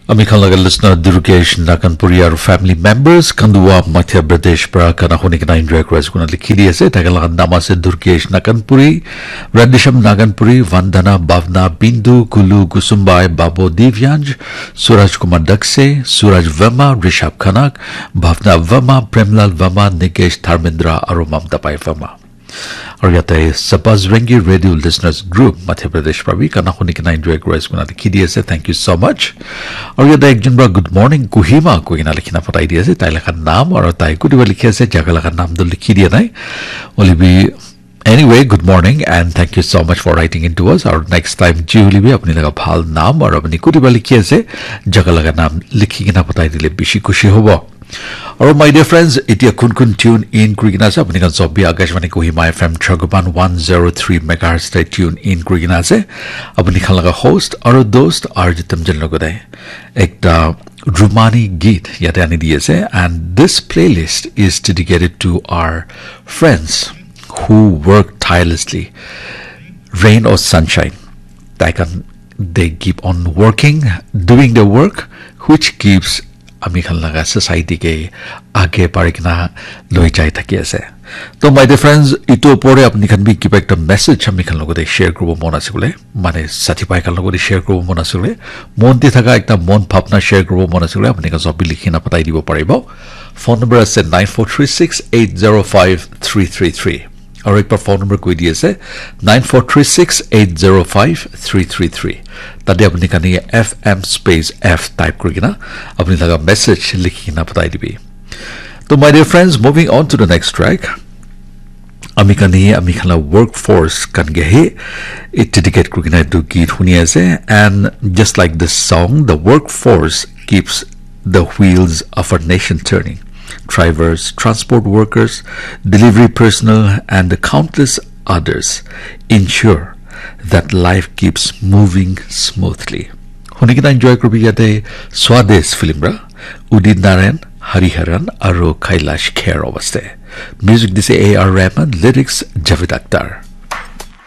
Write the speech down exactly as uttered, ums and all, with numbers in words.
Ami khan laga listener Durgesh Naganpuri aru family members Khandwa, Madhya Pradesh para gana huni kena enjoy kuri ase koina likhi di ase. Tai khan laga naam ase Durgesh Naganpuri, Radhesham Naganpuri, Vandana, Bhavna, Bindu, Kulu, Kusumbai, Babo, Divyansh, Suraj Kumar Dakse, Suraj Verma, Rishabh Khanak, Bhavna Verma, Premlal Verma, Nikesh, Dharmendra aru Mamta Bai Verma. Aru yate Sabaz Rengi Radio Listeners Group Madhya Pradesh para bi gana huni kena enjoy kuri ase koina likhi di ase. Thank you so much. Aru yate ekjon para good morning Kohima koi kena likhi kena pathai di ase. Tai laga naam aru tai kuti para likhi ase, jaga laga naam tu likhi dia nai. Hoile bi, anyway, good morning and thank you so much for writing in to us. Aru next time ji hoile bi apni laga bhal naam aru apni kuti para likhi ase, jaga laga naam likhi kena pathai dile bishi khushi hobo. Aru my dear friends, itia kun kun tune in kuri kena ase, apni khan sob bi Akashvani Kohima F M Chhagoban one zero three megahertz te tune in kuri kena ase. Apni khan laga host aru dost R J Tamjen logote ekta Rumani geet yate ani di ase, and this playlist is dedicated to our friends who work tirelessly, rain or sunshine. Tai khan, they keep on working, doing the work which keeps ami khan laga society ke age bari kena loi jai thaki ase. To my dear friends, itu opor te apni khan bi kiba ekta message ami khan logote share kuribo mon ase koile, mane sathi bhai khan logote share kuribo mon ase koile, mon te thaka ekta mon bhabna share kuribo mon ase koile, apni khan sob bi likhi kena pathai dibo paribo. Phone number ase nine four three six eight zero five three three three. Aru ekbar phone number koi di ase, nine four three six eight zero five three three three. Tate apni khan ye F M space F type kuri kena apni laga message likhi kena pathai dibi. To my dear friends, moving on to the next track. Ami khan ye ami khan la workforce khan ke he, eh, dedicate kuri kena etu geet huni ase. And just like this song, the workforce keeps the wheels of our nation turning. Drivers, transport workers, delivery personnel, and the countless others ensure that life keeps moving smoothly. Huni kena enjoy kuribi yate Swades film ra, Udit Narayan, Hari Haran, aru Kailash Kher awaste. Music dise A R Rahman, lyrics Javed Akhtar.